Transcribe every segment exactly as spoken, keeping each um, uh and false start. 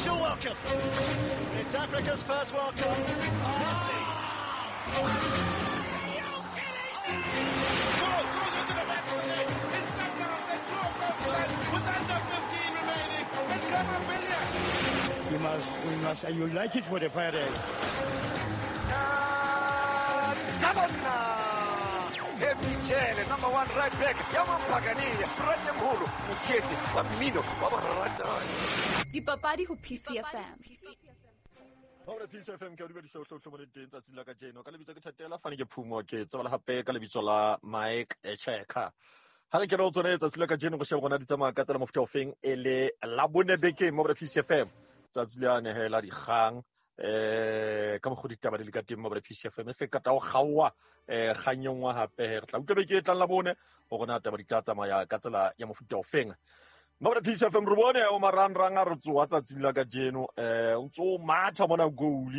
official welcome. It's Africa's first World Cup. Messi. Goal goes into the back of the net. It's Sundowns that draw first blood with under fifteen remaining. And Khama Billiat. We must, we must unite it for the Friday. Michele, number one right back. Yamampagani, Ratemholo, Mutsheti, wa mmino, wa borata. Dipapadi ho P C F M. Hore P C F M ke o dumedisa o hlohlomole teng tsatsing la kajeno. Ka lebitso ke Thatela Fane ke Phumo, ke tsebala hape ka lebitso la Mike Cheka. Ha re kena ho tsona tsatsi la kajeno go sheba rona di tsamaya ka tsela mofuta ofeng e le la bone bekeng mo P C F M. Tsatsi le ane he la dikgang eh ka mokgwa ditaba di le ka teng mo P C F M se ka tao kgaowa eh kganyong wa hape re tla utlwa beke e tlang la bone hore na taba di tla tsamaya ka tsela ya mofuta ofeng. Mo P C F M re bone o marangrang a re tsoa tsatsing la kajeno eh o ntso matha mona goal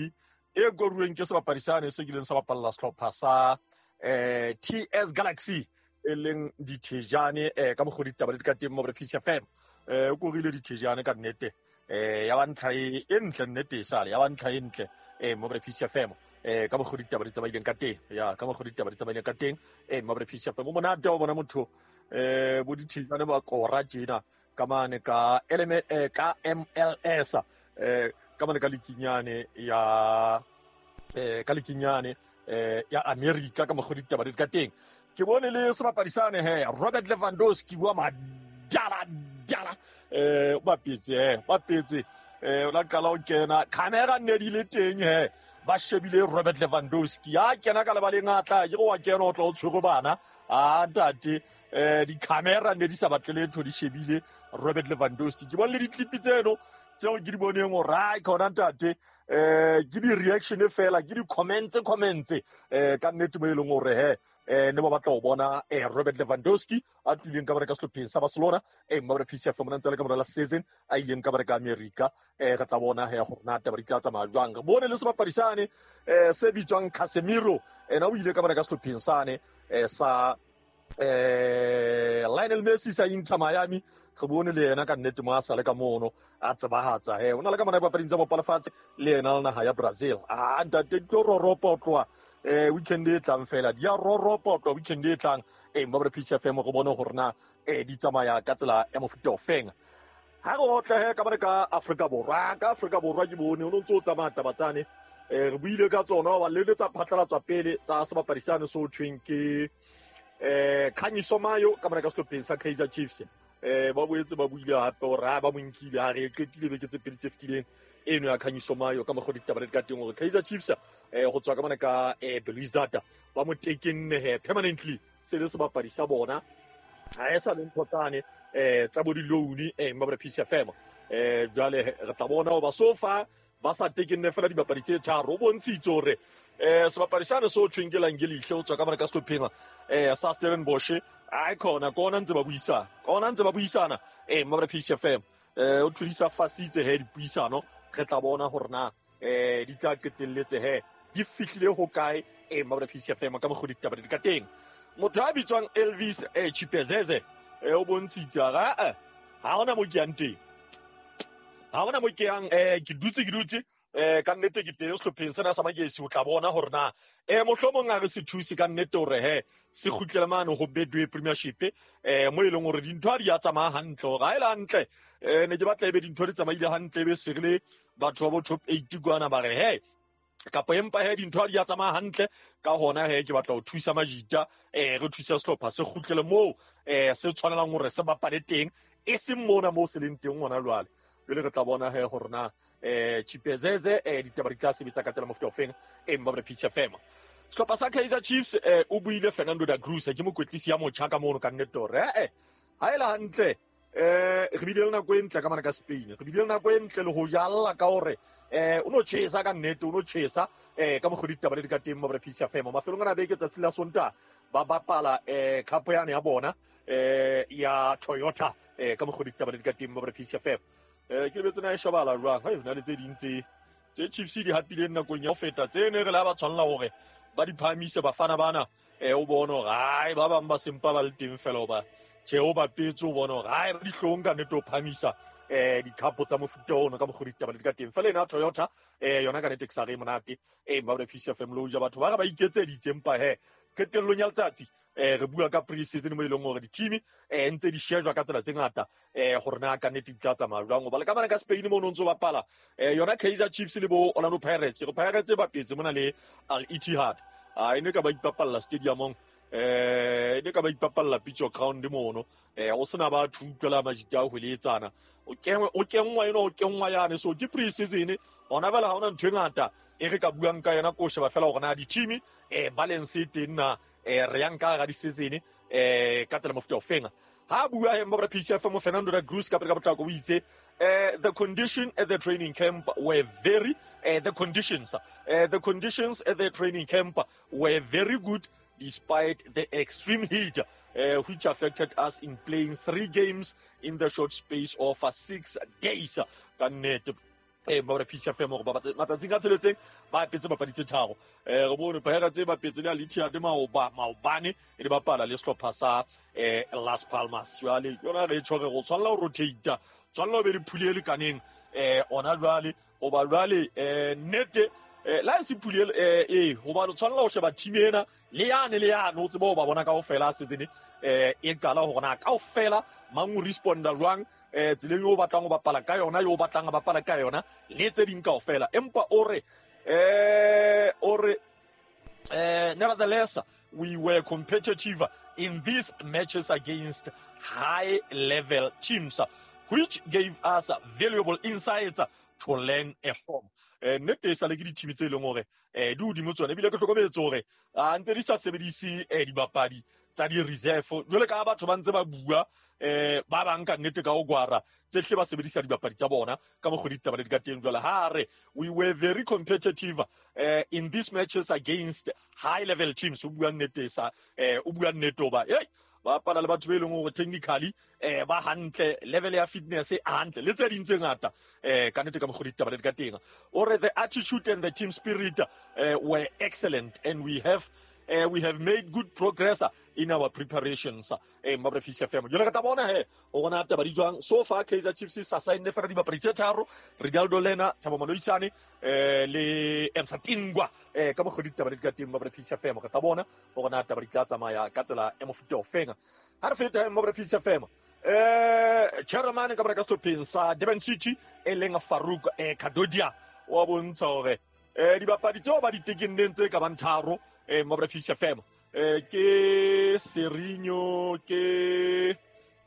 e koruweng ke sebapadi sane se kileng sa bapalla sehlopha sa eh T S Galaxy e leng Dithejane eh ka mokgwa ditaba di ka teng mo P C F M eh o korile Dithejane ka nnete eh ya ba ntlha e ntle nnete e sale ya ba ntlha e ntle eh mo P C F M eh ka mokgwa ditaba di tsamaileng ka teng ya ka mokgwa ditaba di tsamaileng ka teng eh mo P C F M o monate o bona motho eh bo Dithejane ba kora tjena ka mane ka L M eh, ka M L S eh ka mane ka likinyane ya eh ka likinyane eh ya America ka mokgwa ditaba di ka teng. Ke bone le sebapadi sane he Robert Lewandowski wa madala dala eh ba petse eh ba petse eh o la qala o kena camera ne di le teng he ba shebile Robert Lewandowski ya kena ka lebaleng a tla ke go wa kena o tla o tshwere bana a ntate eh di camera ne di sa batle letho di shebile Robert Lewandowski. Ke bone le di-clip tseno tseo ke di boneng hore ai khona ntate eh ke di reaction fela ke di comments comments eh ka nnete mo e leng hore he eh ne ba batla ho bona eh Robert Lewandowski a tlileng ka bareka sehlopheng sa Barcelona eh mma P C F mona ntse le ka mora la season a ileng ka bareka America eh re tla bona he hore na taba di tla tsamaya jwang. Re bone le sebapadi sane eh se bitswang Casemiro ena o ile ka bareka sehlopheng sane eh sa eh Lionel Messi sa Inter Miami. Re bone le yena ka nnete mo a sale ka mono a tsebahatsa he o na le ka mona dipapading tsa bopalefatshe le yena le naha ya Brazil. Ah ntate di tlo roropa ho tloha eh weekend e tlang fela di a roropa ho tloha weekend e tlang eh mo P C F M re bone hore na eh di tsamaya ka tsela ya mofuta ofeng. Ha re otlehe ka bana ka Afrika Borwa ka Afrika Borwa ke bone o ntse o tsamaya taba tsane eh re buile ka tsona ba le tsa phatlalatswa pele tsa sebapadi sane so thweng ke eh Khanyiso Mayo ka bana ka sehlopheng sa Kaizer Chiefs eh ba boetse ba buile hape hore ha ba mo nkile ha re qetile beke tse pedi tse fetileng eno ya Khanyiso Mayo ka mokgwa ditaba di ka teng hore Kaizer Chiefs eh go tswa ka mona ka eh Belouizdad ba mo tekenne he permanently se le sebapadi sa bona ha e sa le ntho tsane eh tsa bo di-loan eh mma P C F M eh jwale re tla bona hoba so far ba sa tekenne fela dibapadi tse tharo o bontshitse hore eh sebapadi sane so thweng ke Langelihle o tswa ka mona ka sehlopheng eh sa Stellenbosch ai khona kona ntse ba buisana kona ntse ba buisana eh mma P C F M eh o thulisa fasitse he dipuisano re tla bona hore na eh di tla qetelletse he di fihlile ho kae eh mma P C F M ka mokgwa ditaba di ka teng. Motho a bitswang Elvis eh Chipezeze eh o bontshitse ha eh ha hona mo ke yang teng ha hona mo ke yang eh ke dutse ke dutse eh ka nnete ke teng sehlopheng sena sa Magesi o tla bona hore na eh mohlomong a re se thuse ka nnete hore he se kgutlele mane ho Betway Premiership eh mo e leng hore dintho ha di a tsamaya hantle hore ha e le hantle eh ne ke batla ebe dintho di tsamaile hantle ebe se re le batho ba bo top eight kwana ba re he kapa empa he dintho ha di a tsamaya hantle ka hona he ke batla ho thusa majita eh re thusa sehlopha se kgutlele moo eh se tshwanelang hore se bapale teng e seng mona moo se leng teng hona jwale. Jwale re tla bona he hore na eh Chipezeze eh ditaba di tla sebetsa ka tsela mofuta ofeng eh mma P C F M. Sehlopha sa Kaizer Chiefs eh o buile Fernando da Cruz ke mokwetlisi ya motjha ka mono ka nnete hore eh ha e le hantle eh re bile le nako e ntle ka mane ka Spain re bile le nako e ntle le ho jalla ka hore eh o no chesa ka nnete o no chesa eh ka mokgwa ditaba di ka teng mo P C F M mafelong ana beke tsatsi la Sontaha ba bapala eh cup yane ya bona eh ya Toyota eh ka mokgwa ditaba di ka teng mo P C F M eh ke lebetse na e shebala jwang ha e na le tse ding tse tse Chiefs di hapileng nakong ya ho feta tse ne re la ba tshwanela hore ba di phahamise bafana bana eh o bone hore ai ba bang ba sempa ba le teng fela hoba Tjhe o bapetse o bona hore hae ba dihlong ka nnete o phamisa eh dikhapo tsa mofuta ono ka mokgwa ditaba di ka teng. Fela ena Toyota eh yona ka nnete ke sa re monate eh ba re P C F M lo ja batho ba re ba iketseditse empa he qetellong ya letsatsi eh re bua ka pre-season mo e leng hore di-team eh ntse di shejwa ka tsela tse ngata eh gore na ka nnete di tla tsamaya jwang. Hoba le ka mane ka Spain mo no ntso bapala eh yona Kaizer Chiefs le bo Orlando Pirates, ke re Pirates ba bapetse mona le Al Ittihad, a ene ka ba ipapalla stadiumong eh ene ka ba ipapalla pitch ground mono eh o sena ba thutlwela majita a hweletsana o kengwe o kengwa eno o kengwa yane. So ke pre-season ona bela ha ona ntho e ngata e re ka buang ka yona ko sheba fela hore na di-team eh balance e teng na eh re yang ka ga di-season eh ka tsela mofuta o feng. Ha bua he mobra P C F mo Fernando da Cruz ka pele ka potlako o itse eh the condition at the training camp were very eh, the conditions eh, the conditions at the training camp were very good despite the extreme heat uh, which affected us in playing three games in the short space of uh, six days. Ka nnete eh mobra P C F mo ba matsatsing a tsheletseng ba petse bapadi tse tharo eh re bone Pirates ba petse le Al Ittihad maoba maobane e di bapala le sehlopha sa eh Las Palmas. Jwale yona re tshware go tshwanela ho rotate tshwanela ho be le phuli e lekaneng eh ona jwale hoba jwale eh nnete eh la se phuli eh eh hoba lo tshwanela ho sheba team ena le yane le yane o tsebe ho ba bona kaofela season eh e qala hore na kaofela mang o responda jwang eh tseleng eo batlang ho bapala ka yona yo batlang a bapala ka yona le tse ding kaofela. Empa o re eh o re eh nevertheless we were competitive in these matches against high level teams which gave us valuable insights to learn from. Eh nnete e sale ke di-team tse leng hore eh di hodimo tsona ebile ke hlokometse hore a ntse di sa sebedise eh dibapadi tsa di-reserve jwale ka batho ba ntse ba bua eh ba bang ka nnete ka ho gwara tse hle ba sebedisa dibapadi tsa bona ka mokgwa ditaba di ka teng. Jwale ha re we were very competitive eh in these matches against high level teams, o bua nnete sa eh o bua nnete hoba hey ba bapala le batho be leng hore technically eh ba hantle, level ya fitness e hantle le tse ding tse ngata eh ka nnete ka mokgwa ditaba di ka teng. O re the attitude and the team spirit uh, were excellent and we have Uh, we have made good progress in our preparations. Eh mabra P C F M. Jwale re tla bona he o bona taba di jwang. So far Kaizer Chiefs sa sign fela dibapadi tse tharo, Rinaldo Lena, Thabo Moloisane eh le Emsa Tingwa eh ka mokgwa ditaba di ka teng mabra P C F M. Re tla bona o bona taba di tla tsamaya ka tsela e mofuta o feng. Ha re feta mabra P C F M. Eh chairman ka bra ka sehlopheng sa Durban City e leng Farouk eh Kadodia wa bontsha hore eh dibapadi tseo ba di tekenneng tse ka bang tharo eh mabra P C F M eh ke Serinho ke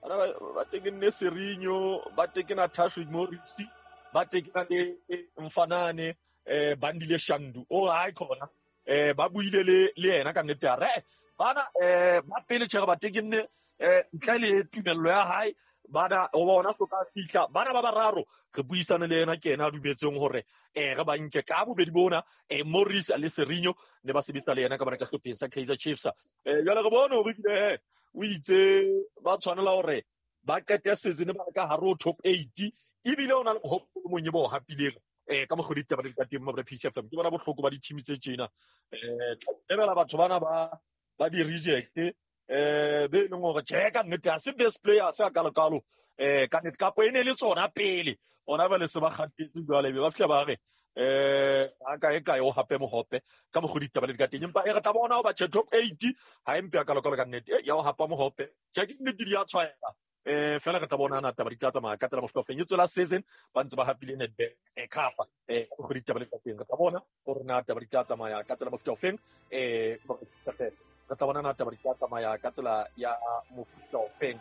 ana ba tekenne Serinho ba tekena Tashrik Morisi ba tekena le Mfanane eh Bandile Shandu o hae khona eh ba buile le le yena ka nnete a re bana eh ba pele tjhe ba tekenne eh ntle le tumello ya hae bana o bona soka fihla bana ba bararo re buisane le yena ke yena a dumetseng hore eh re ba nke ka bobedi bona eh Morris le Serinho ne ba sebetsa le yena ka bana ka sehlopheng sa Kaizer Chiefs. Eh jwale re bone hore bile o itse ba tshwanela hore ba qete season ba ka hare ho top eight ebile o na le hope o mong e bo hapileng eh ka mokgwa ditaba di ka teng mabra P C F M. Ke bona bohloko ba di-team tse tjena eh lebela batho bana ba ba di reject eh be leng hore tjhe ka nnete ha se best player se a kalokalo eh ka nnete kapo e ne le tsona pele ona ba le se ba kgatetse jwale be ba fihla ba re eh a ka e kae o hape mohope ka mokgwa ditaba di ka teng. Empa e re tla bona ho ba tjhe top eight ha empe a kalokalo ka nnete ya ho hapa mohope tjhe ke nnete di a tshwaela eh fela re tla bona na taba di tla tsamaya ka tsela mofuta o feng. E tswela season ba ntse ba hapile Nedbank eh Cup eh mokgwa ditaba di ka teng. Re tla bona hore na taba di tla tsamaya ka tsela mofuta o feng eh re tla bona na taba di tla tsamaya ka tsela ya mofuta o feng.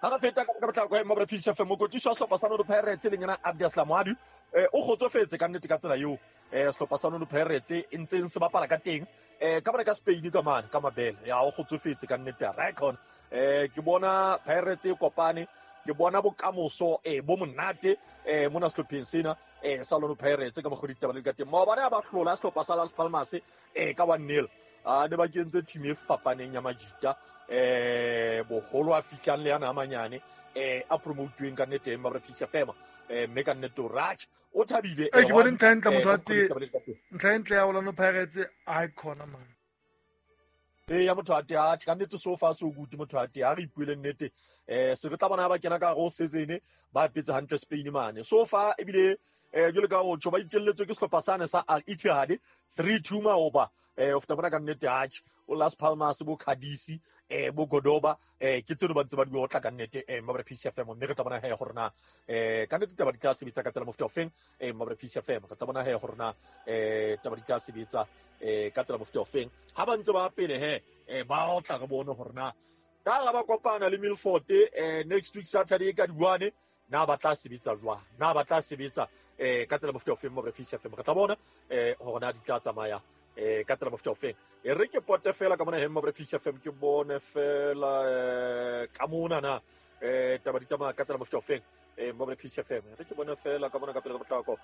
Ha re feta ka ka botlako mabra P C F M mokotliso wa sehlopha sa Orlando Pirates le yena Abdeslam Wadu eh o kgotsofetse ka nnete ka tsela eo eh sehlopha sa Orlando Pirates e ntseng se bapala ka teng eh ka bana ka Spain ka mane ka mabele ya o kgotsofetse ka nnete record eh ke bona Pirates e kopane ke bona bokamoso eh bo monate eh mona sehlopheng sena eh sa Orlando Pirates ka mokgwa ditaba le ka teng. Maobane a ba hlola sehlopha sa Las Palmas eh ka one nil a ne ba kentse team e fapaneng ya majita eh boholo a fihlang le yana a manyane eh a promotuweng ka nnete mabra P C F M eh mme ka nnete o Raj o thabile eh ke bone ntlha e ntle motho wa teng ntlha e ntle ya Orlando Pirates a khona man E ya motho a te a ka nnete so far so good motho a te a re ipuele nnete eh se re tla bona ba kena ka go season ba petse hantle Spain mane so far ebile eh jole ka o tsho ba itjelletswe ke sehlopha sane sa Al Ittihad three two maoba eh o feta bona ka nnete atjhe o Las Palmas bo Cadiz eh bo Cordoba eh ke tseno ba ntse ba di otla ka nnete eh Mabra P C F M mme re tla bona he gore na eh ka nnete taba di tla sebetsa ka tsela mofuta ofeng eh Mabra P C F M re tla bona he gore na eh taba di tla sebetsa eh ka tsela mofuta ofeng ha ba ntse ba pele he eh ba otla re bone gore na ka la ba kopana le Milford eh next week Saturday ka di one na ba tla sebetsa jwang na ba tla sebetsa eh ka tsela mofuta ofeng Mabra P C F M re tla bona eh gore na di tla tsamaya eh ka tsela mofuta ofeng e re ke pote fela ka mona he Mabra P C F M ke bone fela eh ka mona na eh taba di tsamaya ka tsela mofuta ofeng eh Mabra P C F M re ke bone fela ka mona ka pele ka potlako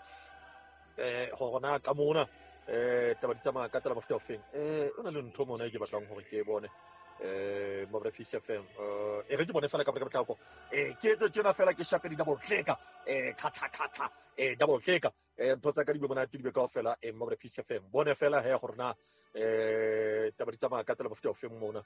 eh gore na ka mona eh taba di tsamaya ka tsela mofuta ofeng eh o na le ntho mona e ke batlang gore ke e bone eh Mabra P C F M eh e re ke bone fela ka pele ka potlako eh ke etse tjena fela ke shape di double click eh khatha khatha eh double click eh ntho tsa ka di be monate di be kaofela eh Mabra P C F M bone fela he gore na eh taba di tsamaya ka tsela mofuta ofeng mona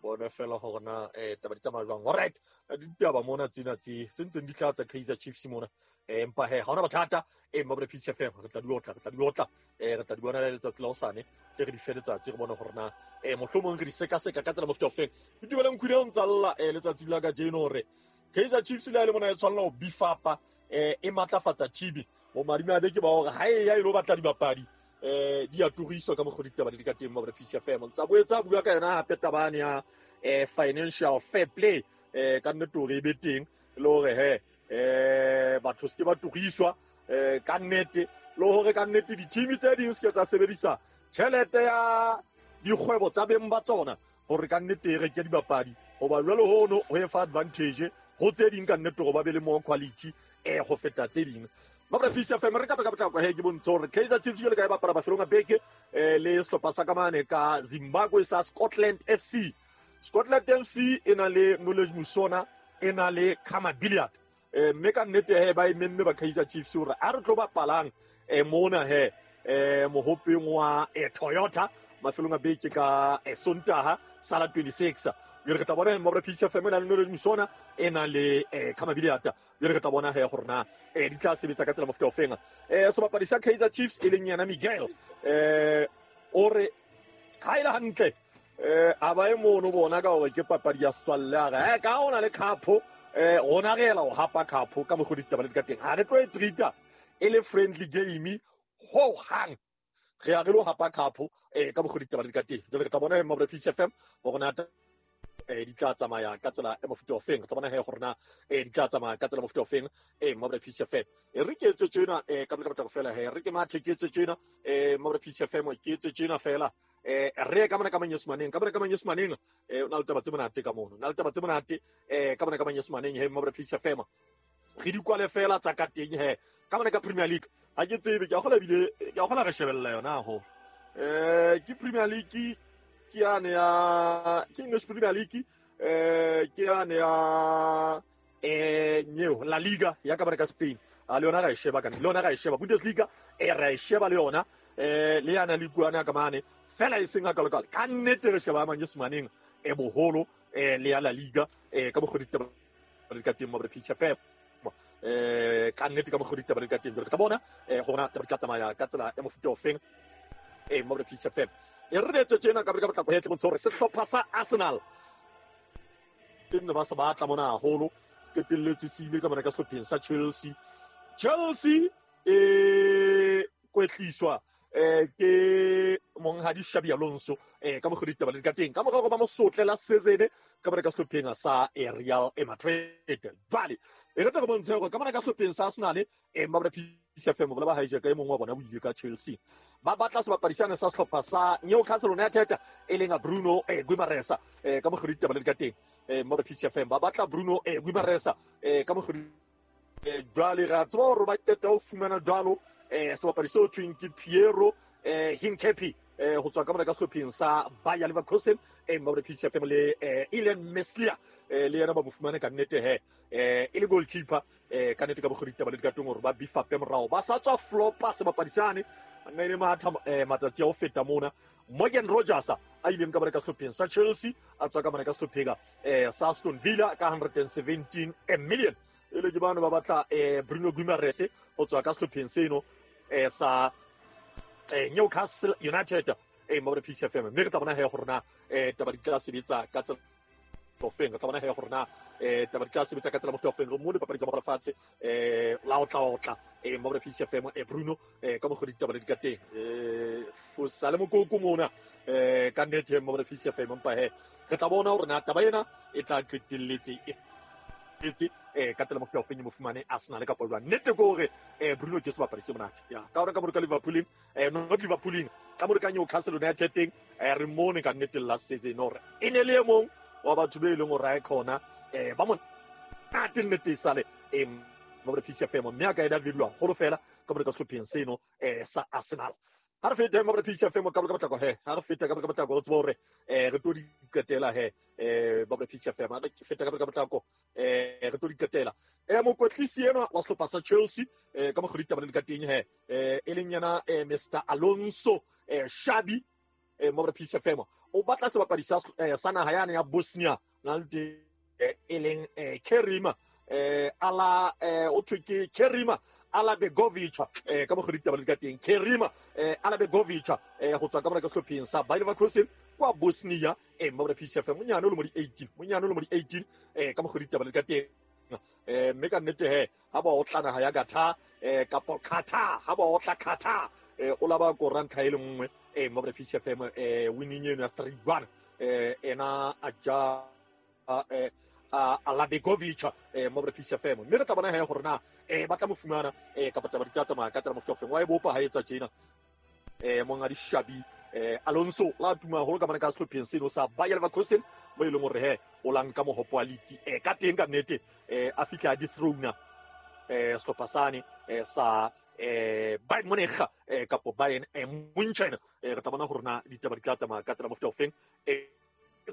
bone fela gore na eh taba di tsamaya jwang. Alright, ditaba mona tsena tse tse ntseng di tla tsa Kaizer Chiefs mona eh empa he ha ona bothata eh Mabra P C F M re tla di otla re tla di otla eh re tla di bona le letsatsi la hosane tle re di fe letsatsi re bone gore na eh mohlomong re di sekaseka ka tsela mofuta ofeng. Ke dumeleng khwedi o ntsa lla eh letsatsi la kajeno hore Kaizer Chiefs le le mona e tshwanela ho beef-upa eh e matlafatsa team bo madimabe ke ba hore ha e ya ilo batla dibapadi eh di a turiswa ka mokgwa ditaba di ka teng Mabra P C F M ntsa boetsa bua ka yona hape tabane ya eh financial fair play eh ka nnete hore e be teng le hore he eh batho se ke ba turiswa eh ka nnete le hore ka nnete di-team tse ding se ke tsa sebedisa tjhelete ya dikgwebo tsa beng ba tsona hore ka nnete e reke dibapadi hoba jwale hono ho e fa advantage ho tse ding ka nnete hore ba be le more quality eh go feta tse ding. Mabra P C F M re ka ka potlako he ke bontshe hore Kaizer Chiefs jwale ka e bapala mafelong a beke eh le sehlopha sa kamane ka Zimbabwe sa Scotland F C. Scotland F C e na le Knowledge Musona e na le Khama Billiard eh mme ka nnete he ba e memme ba Kaizer Chiefs hore a re tlo bapalang eh mona he eh mohopeng wa eh, Toyota mafelong a beke ka eh, Sontaha sala twenty-six. Jwale re tla bona Mabra P C F M e na le Knowledge Musona e na le eh, Khama Billiard. Jwale re tla bona he gore na eh di tla sebetsa ka tsela mofuta ofeng. Eh sebapadi sa Kaizer Chiefs e leng yena Miguel eh o re ha ile hantle eh a ba e mono bona ka hore ke papadi ya setswalle a re eh ka ona le cup eh rona re ela ho hapa cup ka mokgwa ditaba le di ka teng ha re tlo e treata e le friendly game ho hang re ya re lo hapa cup eh ka mokgwa ditaba le di ka teng. Jwale re tla bona Mabra P C F M hore na eh di tla tsamaya ka tsela e mofuta ofeng. Re tla bona he gore na eh di tla tsamaya ka tsela mofuta ofeng eh Mabra P C F M e re ke etse tjena eh ka ka fela he re ke mathe ke etse tjena eh Mabra P C F M ke etse tjena fela eh re ka mona ka manyesemaneng ka mona ka manyesemaneng eh o na le taba tse monate ka mono na le taba tse monate eh ka mona ka manyesemaneng he Mabra P C F M re di kwale fela tsa ka teng he ka mona ka Premier League ha ke tsebe ke a kgola bile ke a kgola re shebella yona ho eh ke Premier League ke yane ya ke English Premier League eh ke yane ya eh nyeo La Liga ya ka ka Spain a le yona ra e sheba ka le yona ra e sheba Bundesliga e ra e sheba le yona eh le yana le kuana ka mane fela e seng ka lokal ka nnete re sheba manyesemaneng e boholo eh le ya La Liga eh ka mokgwa ditaba le ka teng Mabra P C F M eh ka nnete ka mokgwa ditaba le ka teng re tla bona eh gona taba di tla tsamaya ka tsela e mofuta ofeng eh Mabra P C F M e re etse tjena ka ka potlako he tle bontshe hore sehlopha sa Arsenal ke ne ba se batla mona haholo qetelletse se ile ka mona ka sehlopheng sa Chelsea. Chelsea e kwetliswa eh ke monghadi Xabi Alonso eh ka mokgwa ditaba le ka teng ka mora hore ba mo sotle la season ka mona ka sehlopheng sa Real Madrid. Jwale e re tla re bontshe hore ka mona ka sehlopheng sa Arsenal eh Mabra P C F M bola ba hijack e mongwe wa bona o ile ka Chelsea ba batla sebapadi sane sa sehlopha sa Newcastle United e leng Bruno eh Guimaraes eh ka mokgwa ditaba le ka teng eh Mabra P C F M ba batla Bruno eh Guimaraes eh ka mokgwa eh jwale ra tseba hore ba qeta ho fumana jwalo eh sebapadi seo thweng ke Piero eh Hincapié eh ho tswa ka mona ka sehlopheng sa Bayer Leverkusen eh Mabra P C F M le eh Illan Meslier eh le yena ba mo fumane ka nnete he eh e le goalkeeper eh ka nnete ka bokgodi ditaba le dikatong hore ba beef-upe morao ba sa tswa flopa sebapadi sane nna ile matha matsatsi a ho feta mona Morgan Rogers a ileng ka bareka sehlopheng sa Chelsea a tswa ka mane ka sehlopheng eh sa Aston Villa ka one hundred seventeen million ele ke bano ba batla eh Bruno Guimaraes ho tswa ka sehlopheng seno eh sa eh Newcastle United eh mo re P C F M mme re tla bona he gore na eh taba di tla sebetsa ka tsela ofeng re tla bona he gore na eh taba di tla sebetsa ka tsela mofuta ofeng re mo dipapadi tsa morafatshe eh la otla otla eh mo re P C F M eh Bruno eh ka mogodi ditaba le di ka teng eh fosale mokoko mona eh ka nnete mo re P C F M mpa he re tla bona gore na taba ena e tla qetelletse e etse eh ka tsela mofuta ofeng mo fumane Arsenal ka jwang nnete ke hore eh Bruno ke sebapadi se monate ya ka hore ka mo ka Liverpool eh not Liverpool ka mo ka Newcastle United teng eh re mone ka nnete last season hore e ne le e mong wa batho be leng hore a khona eh ba monate nnete sale eh mo re P C F M mme a ka eda value haholo fela ka mo ka sehlopheng seno eh sa Arsenal ha re fete mo re P C F M ka ka potlako he ha re feta ka ka potlako re tsebe hore eh re tlo di qetela he eh ba re P C F M ha re feta ka ka potlako eh re tlo di qetela eh mokwetlisi enwa wa sehlopha sa Chelsea eh ka mokgwa ditaba le ka teng he eh e leng yena eh Mister Alonso eh Xabi eh mo re P C F M o batla sebapadi sa sa naha yane ya Bosnia na le e leng eh Kerima eh ala eh o thwe ke Kerima Alabegovic eh ka mokgwa ditaba le ka teng Kerima eh Alabegovic eh go tswa ka mora ka sehlopheng sa Bayer Leverkusen kwa Bosnia eh mo re P C F M monyane o le mo di eighteen monyane o le mo di eighteen eh ka mokgwa ditaba le ka teng eh mme ka nnete he ha ba o tla naha ya Qatar eh kapa Qatar ha ba o tla Qatar eh o laba ko ranta e le nngwe eh mo re P C F M eh winning eno ya three one eh ena a ja eh Alabegovic eh mo re P C F M mme re tla bona he gore na eh ba tla mo fumana eh kapa taba di tla tsamaya ka tsela mofuta ofeng wa e bopa ha etsa tjena eh monga di Xabi eh Alonso la tuma haholo ka mane ka sehlopheng seno sa Bayer Leverkusen mo e leng hore he o la nka mohopo wa league eh ka teng ka nnete eh a fihla a dethrone eh sehlopha sane eh sa eh Bayern Munich eh kapo Bayern eh Munchen eh re tla bona hore na ditaba di tla tsamaya ka tsela mofuta ofeng eh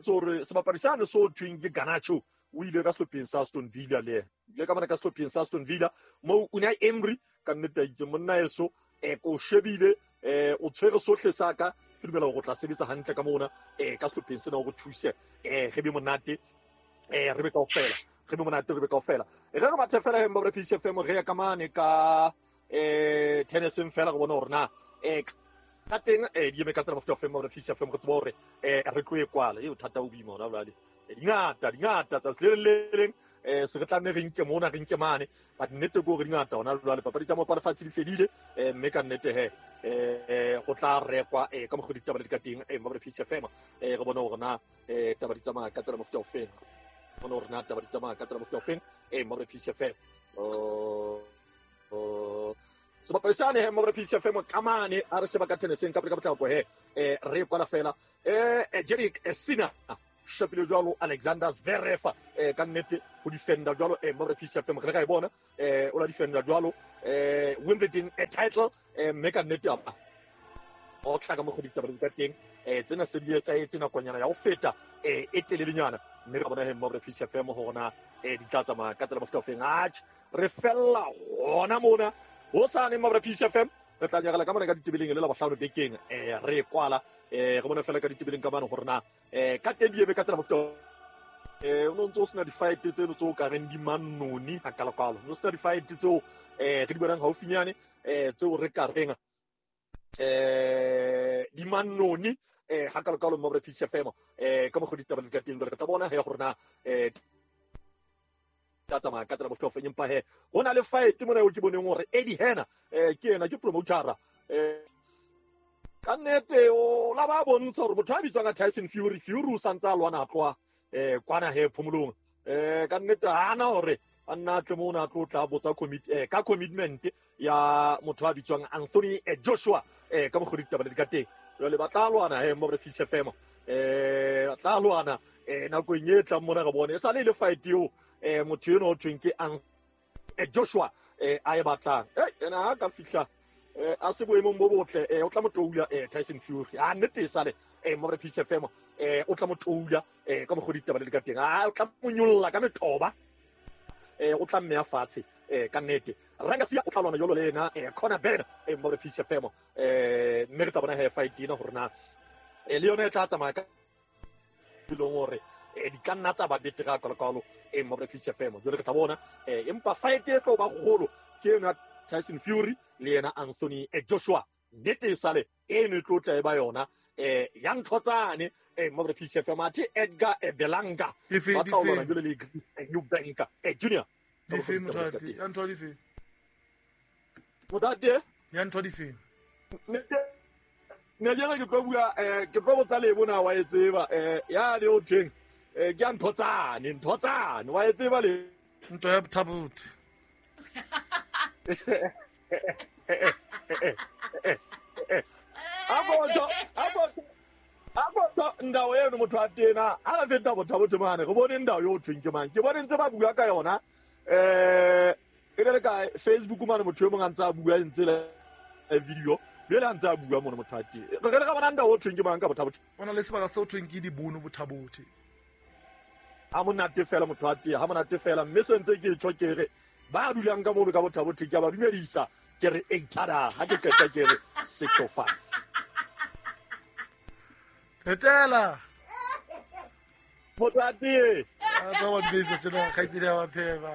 tsore sebapadi sane so thweng ke Garnacho o ile ka sehlopheng sa Aston Villa le ile ka mane ka sehlopheng sa Aston Villa mo Unai Emery ka nnete a itse monna eso eh ko shebile eh o tshwere sohle sa ka ke dumela hore o tla sebetsa hantle ka mona eh ka sehlopheng sena hore thuse eh re be monate eh re be kaofela re be monate re be kaofela e re re bathe fela he mbo re P C F M re ya ka mane ka eh tenniseng fela re bone hore na eh ka teng eh di eme ka tsela mofuta ofeng mo re P C F M re tsebe hore eh re tlo e kwala e bothata o boima hona jwale dingata dingata tsatsi le le leng eh se re tla nne re nke mona re nke mane but nnete ke hore dingata hona jwale papadi tsa mopa lefatshe di fedile eh mme ka nnete he eh go tla rekwa eh ka mokgwa ditaba le di ka teng eh mo re P C F M eh re bone hore na eh taba di tsamaya ka tsela mofuta ofeng bone hore na taba di tsamaya ka tsela mofuta ofeng eh mo re P C F M oh oh sebapadi sane he mo re P C F M ka mane a re sheba ka tenniseng ka ka potlako he eh re kwala fela eh Jerick Sina shapile jwalo Alexander Zverev eh ka nnete ho defender jwalo eh mo re P C F M re ka e bona eh o la defender jwalo eh Wimbledon a title eh mme ka nnete apa o tla ka mo go ditaba di ka teng eh tsena se di etsa etse nakonyana ya ho feta eh e telelenyana mme re bona he mo re P C F M hore na eh di tla tsamaya ka tsela mofuta ofeng atjhe re fella hona mona ho sane mo re P C F M re tla nyagala ka mona ka ditebeleng le la bohlano bekeng eh re kwala eh re bona fela ka ditebeleng ka mane hore na eh ka teng di ebe ka tsela mofuta eh o no ntse o sena di-fight tseno tseo ka reng di manoni hakalokalo no sena di-fight tseo eh re di bonang haufinyane eh tseo re ka reng eh di manoni eh hakalokalo mo re P C F M eh ka mokgwa ditaba di ka teng re tla bona he gore na eh tla tsamaya ka tsela mofuta ofeng empa he ho na le fight mona eo ke boneng hore Eddie Hearn eh ke yena ke promotera eh ka nnete o la ba bontsha hore motho a bitswang ka Tyson Fury Fury o santse a lwana a tloha eh kwana he phomolong eh ka nnete hana hore a nna tle mona a tlo tla botsa commit eh ka commitment ya motho a bitswang Anthony Joshua eh ka mokgwa ditaba le di ka teng jwale ba tla lwana he mo re P C F M eh ba tla lwana eh nakong e tlang mona re bone e sale le fight eo eh motho eno o thweng ke Joshua eh a e batlang eh ena ha ka fihla eh a se boemong bo botle eh o tla mo toula eh Tyson Fury a nnete e sale eh mo re P C F M eh o tla mo toula eh ka mokgwa ditaba le di ka teng a o tla mo nyolla ka metoba eh o tla mmeya fatshe eh ka nnete Rangasia o tla lwana jolo le ena eh Conor Benn eh mo re P C F M eh mme re tla bona he fight ena hore na eh le yona e tla tsamaya ka dilong hore eh di ka nna tsa ba betere ka kalokalo eh mo re P C F M jole re tla bona eh empa fight e tlo ba kgolo ke yona Tyson Fury le yena Anthony Joshua nnete e sale e ne tlo tla e ba yona eh ya nthotsane eh mo re P C F M athe Edgar Belanga ba tla lwana jole le New Banker eh Junior di fe mothati ya ntho di fe mothati ya ntho di fe ne jela ke tlo bua eh ke tlo botsa le bona wa e tseba eh ya le o theng eh ke ya nthotsane nthotsane wa e tseba le ntho ya thabuthe abotho abotho abotho ndawo eno motho a tena ha re feta bothabothe mane re bone ndawo yo thweng ke mang ke bone ntse ba bua ka yona eh e le ka Facebook mane motho e mong a ntse a bua ntse le video le le ntse a bua mone motho a teng re re ka bona ndawo o thweng ke mang ka bothabothe ona le sebaka se o thweng ke dibono bothabothe ha monate fela motho a teng ha monate fela mme se ntse ke tjho ke re ba dulang ka mono ka bothabothe ke ba dumedisa ke re eight tada ha ke qeta ke re six oh five Etela motho a teng a tla ba dumedisa tjena kgaitsedi ya wa tsheba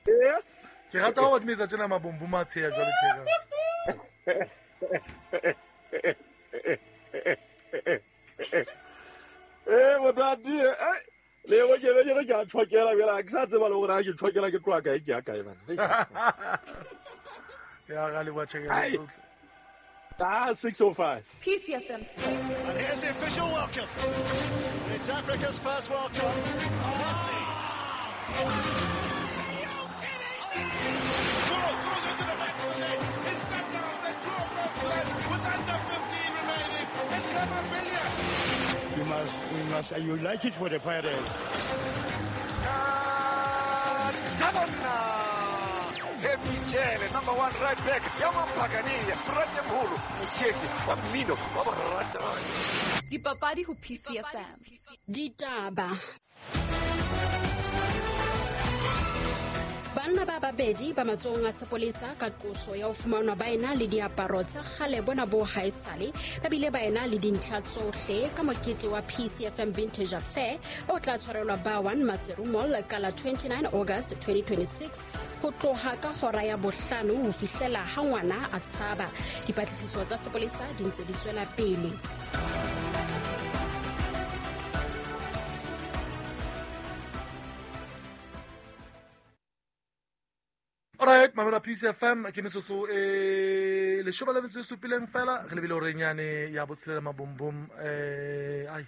eh ke rata ho ba dumedisa tjena mabombo matsheya jwale tjena eh motho a teng eh le go ke be ke a tshokela bjela ke sa tseba le gore ha ke tshokela ke tloa kae ke ya kae bana ya ga le wa tshekela sohle ah six oh five P C F M Sports. And here's the official welcome. It's Africa's first World Cup. Messi. Goal goes into the back of the net. It's Sundowns that draw first blood with under fifteen remaining. And Khama Billiat. You must, we must, you like it for the Pirates. Michele, number one right back. Yamampagania, Fratemholo, Motsheti, wa mmino wa borata. Dipapadi ho P C F M. Ditaba. Banna ba babedi ba matsohong a sepolesa ka qoso ya ho fumanwa ba ena le diaparo tsa kgale bona bo haesale ba bile ba ena le dintlha tsohle ka mokete wa P C F M Vintage Affair o tla tshwarelwa ba one Maseru Mall ka la twenty-nine August twenty twenty-six ho tloha ka hora ya bohlano ho fihlela ha ngwana a tshaba. Dipatlisiso tsa sepolesa di ntse di tswela pele. Alright, mamela P C F M ke metsotso e leshome le metso e supileng fela re lebile hore nyane ya botshelela mabombom eh ai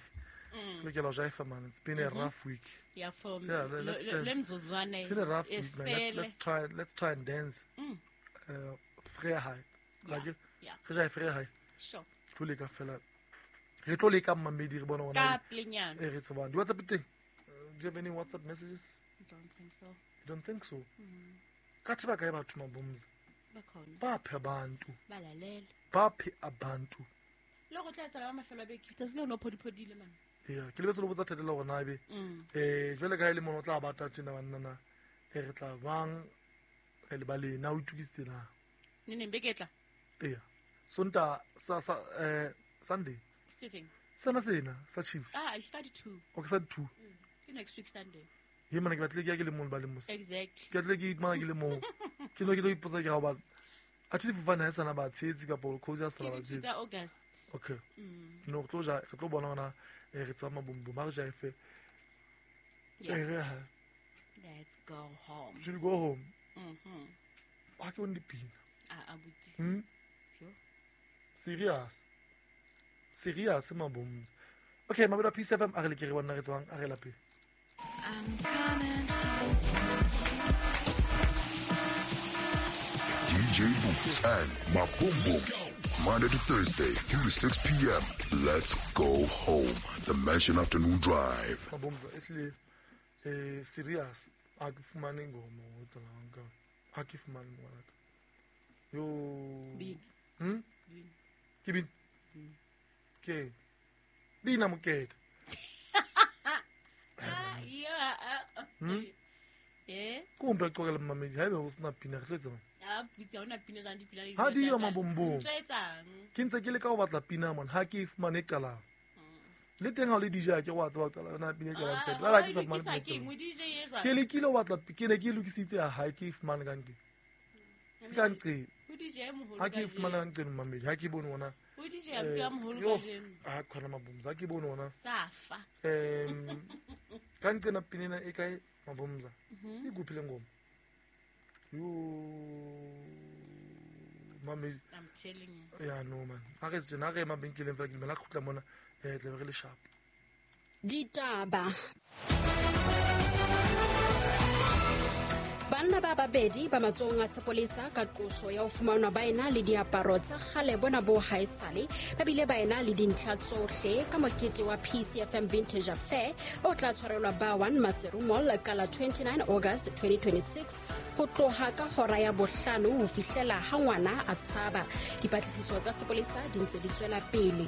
lokela ho jaifa man, it's been a rough week. Yeah, for yeah, let's lemzuzwane. It's been a rough week, man. Let's, let's try let's try and dance. Mm. Uh free high. Like yeah. Re jaifa free high. Sure. Tlo leka fela. Re tlo leka mmamedi re bona hore ka plenyana. E re tsebang. Di WhatsApp teng? Do you have any WhatsApp messages? I don't think so. You don't think so? Mm. Ka tseba kae batho mabomza bakhona baphe abantu balalela baphe abantu le go tla tsala ba mafelo a beke tsatsi le no phodiphodile man yeah ke lebetse lo botsa thetela gore na ebe eh jwale ka ile mono tla bata tjena banna na e re tla bang re le ba le na o itukisitse na ne ne beke tla yeah sonta sa sa eh Sunday sefeng sena sena sa Chiefs ah it's thirty-two okay thirty-two ke next week Sunday ye mana ke batle ke ya ke le mong ba le mose exactly ke batle ke mana ke le mong ke no ke lo ipotsa ke ga ba a thi fofane ha sana ba tshetsi ka polo coach ya sana ba tshetsi August okay no re tlo ja re tlo bona hona re tsaba mabombom ba re ja efe yeah let's go home. Should we go home? Mhm. Ba ke on dipina ah abuti hm serious serious mabombom okay mabela P C F M a re le ke re bona re tswang a re lapeng. I'm coming. D J Boots and Mabombom. Monday to Thursday, three to six p.m. Let's go home. The Mansion Afternoon Drive. Mabombom, actually, eh, serious. A ke fumane ngoma o tsalang ka. A ke fumane ngwana ka. Yo. Bina. Hm? Bina. Ke bina. Ke. Bina mokete. Yeah. Hmm? Eh? Ko mpe qoqele mmamedi haebe ho sena pina re tlo etsang? A butse ha ona pina jwang dipina di Ha di yo tsa- mabombong. Ntho e etsang? Ke ntse ke leka ho batla pina mona ha ke e fumane e qalang. Le teng ha o le D J ha ke wa tseba ho qala yona pina e qalang Ah, set. Jwale ha ke wa sa e fumane lokisa pina e keng? qalang. O D J e jwang? Ke lekile ho batla ke ne ke e lokisitse ya hae ke e fumane ka nqeng. Ke ka nqeng. O D J e moholo Ha ke e kajeno. fumane ka nqeng mmamedi ha ke bone ona. O D J abuti wa moholo Yo, kajeno. ha khona mabomza ha ke bone ona. Safa. Um ka nqena pina ena e kae mabomza? Mhm. E kuphi le ngoma? Yo mamedi. I'm telling you. Ya no man. Ha re tjena ha re mabenkeleng fela ke dumela kgutla mona eh tlabe re le sharp. Ditaba. Banna ba babedi ba matsohong a sepolesa ka qoso ya ho fumanwa ba ena le diaparo tsa kgale bona bo haesale ba bile ba ena le dintlha tsohle ka mokete wa P C F M Vintage Affair o tla tshwarelwa Bar One Maseru Mall ka la twenty-nine August twenty twenty-six ho tloha ka hora ya bohlano ho fihlela ha ngwana a tshaba. Dipatlisiso tsa sepolesa di ntse di tswela pele.